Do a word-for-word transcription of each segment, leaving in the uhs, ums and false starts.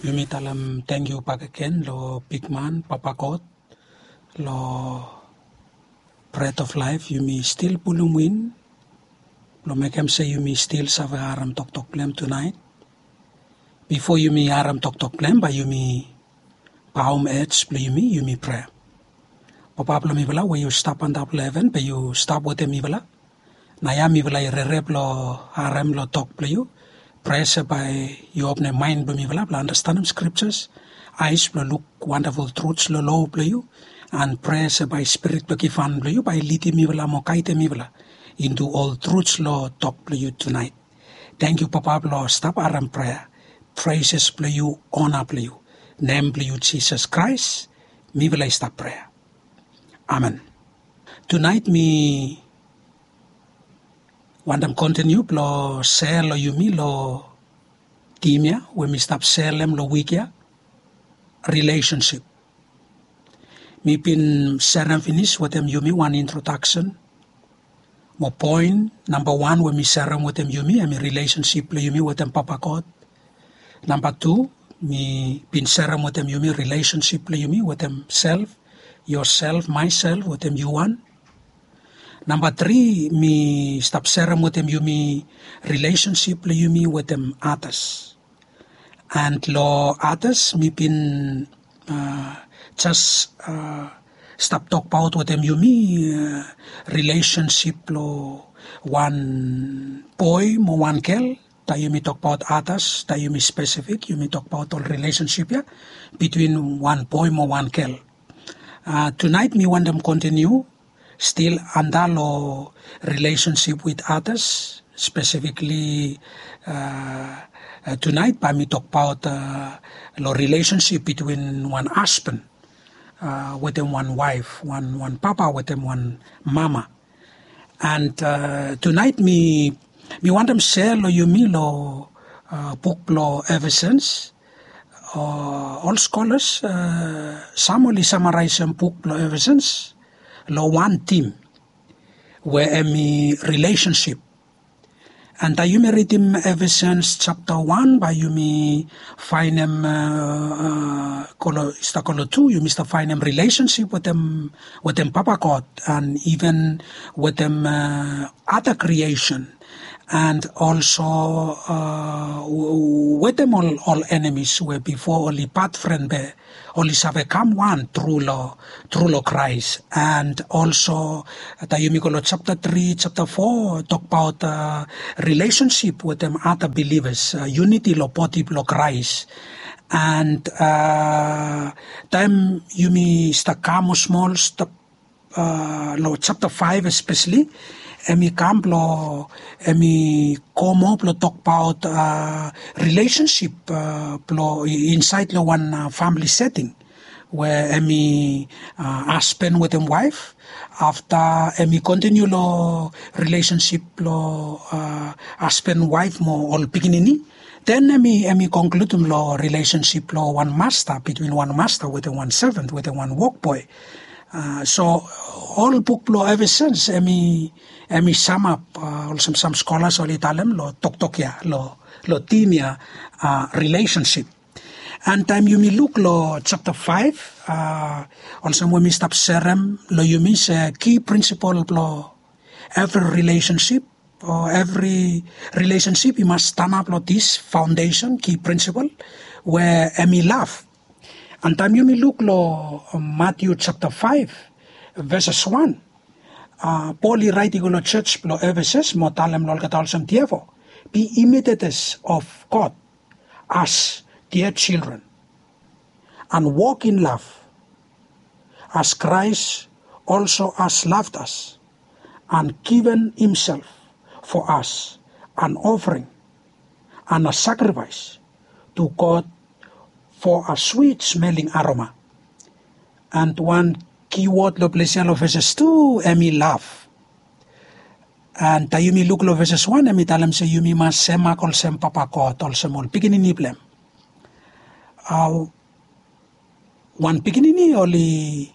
Yumi talem tangkiu bakegen lo bigman Papa God, lo Bread of Life, yumi stil pulum win lo mekem se yumi stil save harem toktok blong hem tunaet. Bifo yumi harem toktok blong hem, bae yumi baom hed blong yumi, yumi prea. Papa blong mifala we yu stap antap lo heven, bae yu stap wetem mifala. Naoia mifala i rere blong harem lo tok blong yu. Prea se bae yu opnem maen blong mifala blong andastanem scriptures, aes blong luk wandaful truths lo lo blong yu. An prea se bae Spirit blong givhan blong yu bae i lidim mifala mo gaedem mifala into ol truths lo tok blong yu tunaet. Tangkiu Papa blong stap harem prea. Praises blong yu, ona blong yu. Nem blong yu Jisas Kraes mifala i stap prea. Amen. Tunaet mi wantem kontiniu blong sea lo yumi lo tim ya we mi stap selem lo wik ya, relationship. Mi bin serem finis wetem yumi wan introdaksen mo poen namba wan we mi serem wetem yumi hemi relationship blong yumi wetem Papa God. Namba tu, mi bin serem wetem yumi relationship blong yumi wetem self, yourself, myself, wetem yu wan. Namba tri, mi stap serem wetem yumi relationship blong yumi wetem others. And lo others mi bin jes stap tokbaot wetem yumi relationship lo wan boe mo wan gel. Taem yumi tokbaot others, taem yumi spesifik, yumi tokbaot ol relationship ya bitwin wan boe mo wan gel. Tunaet mi wantem kontiniu stil antap lo relationship with others, spesifikli tunaet bae mi tokbaot lo relationship bitwin wan hasban wetem wan waef, wan papa wetem wan mama. And tunaet mi wantem sea lo yumi lo buk blo Efesens. Ol skolas sam oli samaraesem buk blo Efesens lo wan tim we hemi rilesensip. And taem yumi ridim Efesens japta wan bae yumi faenem i stap go lo tu, yumi stap faenem rilesensip wetem Papa God and iven wetem ada kriesen. And olso wetem ol enemis we bifo oli bad fren be oli save kam wan tru lo Kraes. And olso taem yumi go lo japta tri, japta fo, tokbaot rilesensip wetem ada bilivas, yuniti lo bodi blo Kraes. And taem yumi stap kam smol stap lo japta faef espeseli, hemi kam blo hemi go moa blo tokbaot rilesensip blo insaed lo wan famili seting we hemi hasban wetem waef. Afta hemi kontiniu lo rilesensip blo hasban, waef mo ol pikinini. Den hemi konkludim lo rilesensip blo wan masta, bitwin wan masta wetem wan seven, wetem wan wokboe. So ol buk blo Efesens hemi samap olsem sam skolas oli talem lo toktok ya, lo tim ya, rilesensip. And taem yumi luk lo japta faef, olsem we mi stap serem lo yumi se ki prinsipol blo evri rilesensip o evri rilesensip i mas stanap lo dis faondesen, ki prinsipol we hemi lav. And taem yumi luk lo Matiu japta faef, veses wan, Pol i raet i go lo jos blo Efesens mo talem lo olgeta olsem, therefore be imitators of God as dear children, and walk in love, as Christ also has loved us and given himself for us, an offering and a sacrifice to God for a sweet smelling aroma. And wan ki wod lo ples ya lo veses tu, hemi lav. And taem yumi luk lo veses wan, hemi talem se yumi mas semak olsem Papa God, olsem ol pikinini blo hem. Wan pikinini oli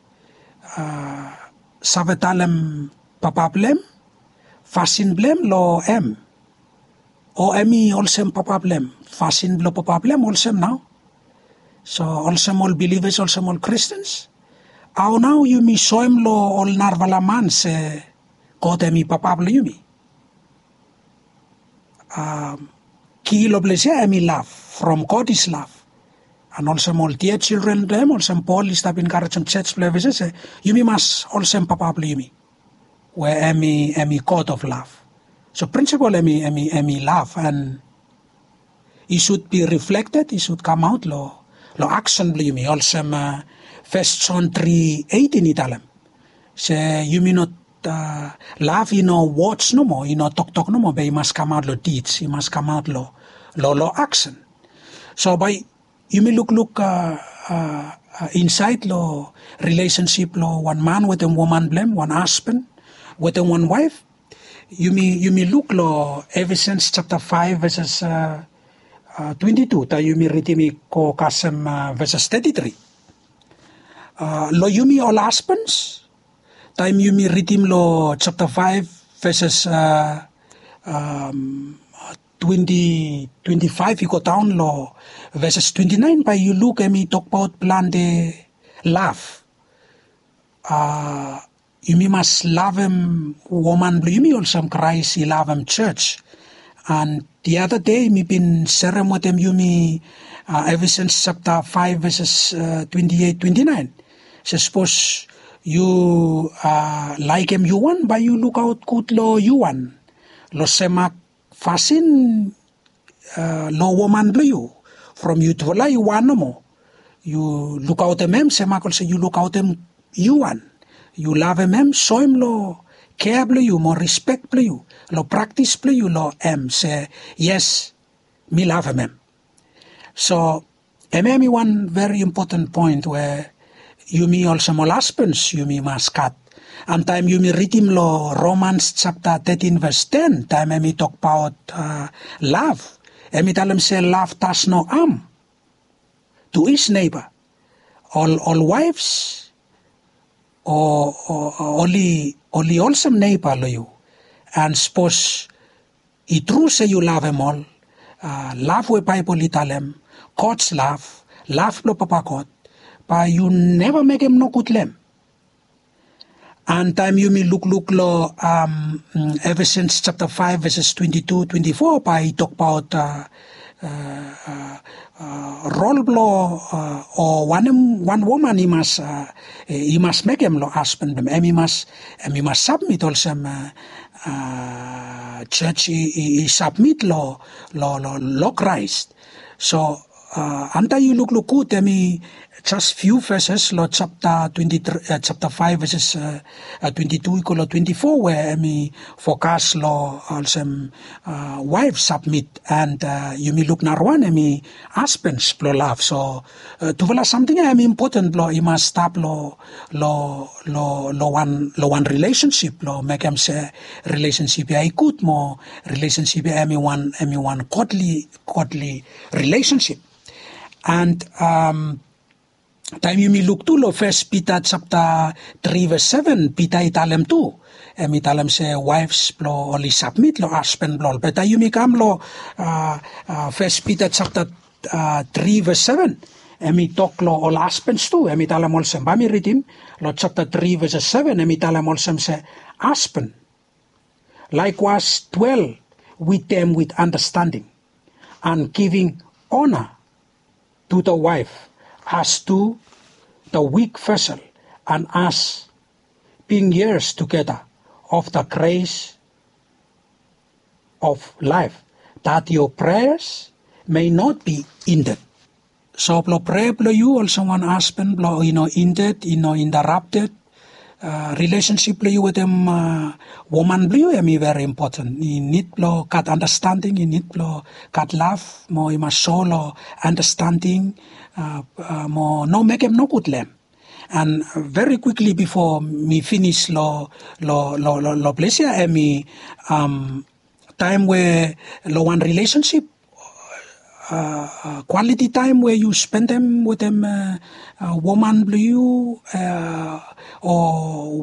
save talem papa blo hem fasin blo hem lo hem, o hemi olsem papa blo hem, fasin blo papa blo hem olsem nao. So olsem ol bilivas, olsem ol kristens, hao nao yumi soem long ol narafala man se God hem i papa blong yumi? Ki long ples ya hem i lav. From God is lav. An olsem ol dia jildren blong hem, olsem Pol i stap enkarejem jej blong Efesas se yumi mas olsem papa blong yumi, we hem i hem i God of lav. So prinsipol hem i hem i hem i lav, an i sud bi riflekted, i sud kamaot long long aksen blong yumi, olsem Fes Jon tri etin i talem se yumi no, lav i no wods nomo, i no toktok nomo, be i mas kamaot long dids, i mas kamaot long long long aksen. So bae yumi lukluk insaed long rilesensip blong wan man wetem woman blong hem, wan hasban wetem wan waef. Yumi yumi luk long Efesens japta faef veses twenti tu, taem yumi ridim i go kasem veses teti tri. Long yumi ol hasbans, taem yumi ridim long japta faef veses twenti twenti faef i go daon long veses twenti naen, bae yu luk hem i tokbaot plante lav. Yumi mas lavem woman blong yumi olsem Kraes i lavem jej. An diada dei mi bin serem wetem yumi Efesens japta faef veses twenti eit twenti naen se sapos yu laekem yu wan, bae yu lukaot gud long yu wan, long sem mak fasin long woman blong yu. From yutufala i wan nomo, yu lukaotem hem sem mak olsem yu lukaotem yu wan. Yu lavem hem, soem long kea blong yu mo rispek blong yu, long praktis blong yu long hem se yes, mi lavem hem. So hemia hem i wan veri impoten poen we yumi olsem ol hasbans yumi mas gat. An taem yumi ridim long Romans japta tetin ves ten, taem hem i tokbaot lav, hem i talem se love does no harm to his neighbor. Ol ol waefs o oli oli olsem neiba long yu. An sapos i tru se yu lavem ol, lav we Baebol i talem, God's love, lav blong Papa God, bae yu neva mekem nogud long hem. An taem yumi lukluk long Efesens japta faef veses twenti tu twenti fo, bae i tokbaot rol blong o wanem wan woman i mas i mas mekem long hasban blong hem. Hem i mas hem i mas sabmit olsem jej i sabmit long long long Kraes. So afta yu lukluk gud, hem i jes fiu veses long japta twenti tri, japta faef veses twenti tu i go long twenti fo, we hem i fokas long olsem waef sabmit. An yumi luk narawan, hem i hasbans blong lav. So tufala samting ya hem i impoten blong i mas stap long long long wan long wan rilesensip blong mekem se rilesensip ya i gud mo rilesensip ya hem i wan hem i wan godli godli rilesensip. An taem yumi luk tu long Fes Pita japta tri ves seven, Pita i talem tu, hem i talem se waefs blong oli sabmit long hasban blong ol. Be taem yumi kam long Fes Pita japta tri ves seven, hem i tok long ol hasbans tu, hem i talem olsem, bae mi ridim long japta tri ves seven, hem i talem olsem se, hasban, likewise dwell with them with understanding, and giving honor to the wife as to the weak vessel, and as being heirs together of the grace of life, that your prayers may not be hindered. So blong prea blong yu olsem wan hasban blong i no hindered, i no interrupted. Rilesensip blong yu wetem woman blong yu hem i veri impoten. I nid blong gat anastanding, i nid blong gat lav, mo i mas so long anastanding mo no mekem nogud long hem. An veri kwikli bifo mi finis long long long long ples ya, hem i taem we long wan rilesensip, kwaliti taem we yu spendem wetem woman blong yu, o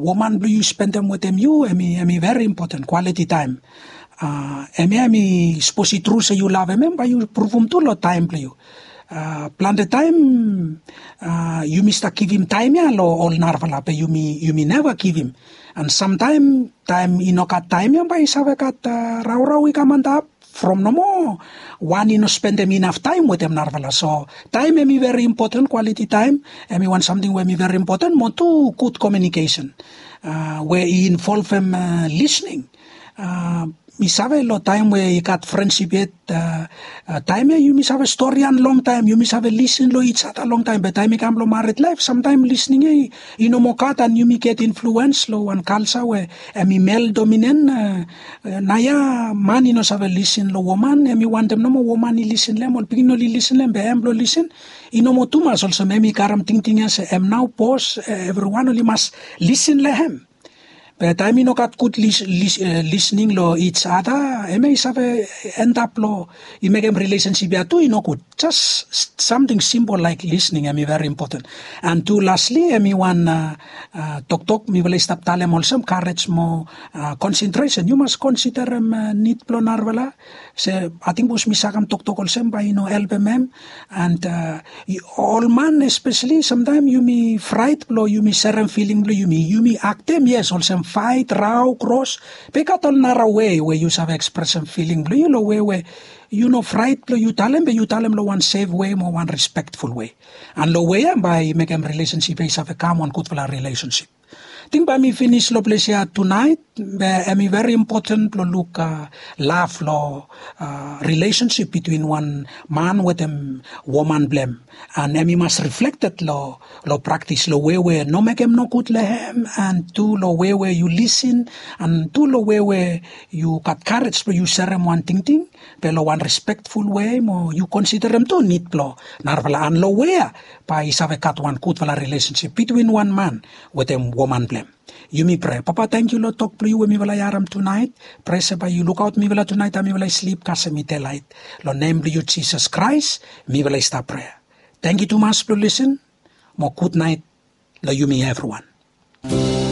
woman blong yu spendem wetem yu, hem i hem i veri impoten, kwaliti taem. Hemia hem i sapos i tru se yu lavem hem, bae yu pruvum tu long taem blong yu. Plante taem yumi stap givim taem ya long ol narafala be yumi neva givim. An samtaem taem i no gat taem ya bae i save gat raorao i kam antap from nomo wan i no spendem inaf taem wetem narafala. So taem hem i veri impoten, kwaliti taem hem i wan samting we hem i veri impoten mo tu gud kominikesen we i involvem lisning. Mi save long taem we i gat frensip yet taem ya yumi save stori an longtaem, yumi save lisin long its ada longtaem be taem i kam long marit laef samtaem lisning ya i no moa gat an yumi get influens long wan kalsa we hem i mel dominen. Naoia man i no save lisin long woman, hem i wantem nomo woman i lisin long hem, ol pikinini oli lisin long hem be hem blong lisin i no moa tumas olsem hem i karem tingting ya se hem nao bos, evriwan oli mas lisin long hem. Be taem i no gat gud lisning long its ada hem ya i save endap long i mekem rilesensip ya tu i nogud. Jes samting simpol laek lisning hem i veri impoten. An tu lasli hem i wan toktok mifala i stap talem olsem karej mo konsentresen yu mas konsiderem nid blong narafala. Se ating bos mi sagam toktok olsem bae i no helpem hem. And ol man espeseli samtaem yumi fraet blong yumi serem filing blong yumi yumi aktem yes olsem faet rao kros. Be i gat ol nara wei we yu save ekspresem filing blong yu long wei we yu no fraet blong yu talem be yu talem long wan sef wei mo wan respektful wei. And long wei ya bae i mekem rilesensip ya i save kam wan gudfala rilesensip. Ting bae mi finis long ples ya tunaet be hem i veri impoten blong luk laf long rilesensip bitwin wan man wetem woman blong hem. And hem i mas riflekted long praktis long wei we no mekem nogud long hem and tu long wei we yu lisin and tu long wei we yu gat karej blong yu serem wan tingting be long wan respektful wei mo yu konsiderem tu nid blong narafala an long wei ya bae i save gat wan gudfala rilesensip bitwin wan man wetem woman blong hem. Yumi prea papa tangkiu long tok blong yu we mifala i harem tunaet. Prea se bae yu lukaot mifala tunaet taem mifala i slip kasem i delaet. Long nem blong yu jisas kraes mifala i stap prea. Tangkiu tumas blong lisin mo gudnaet long yumi evriwan.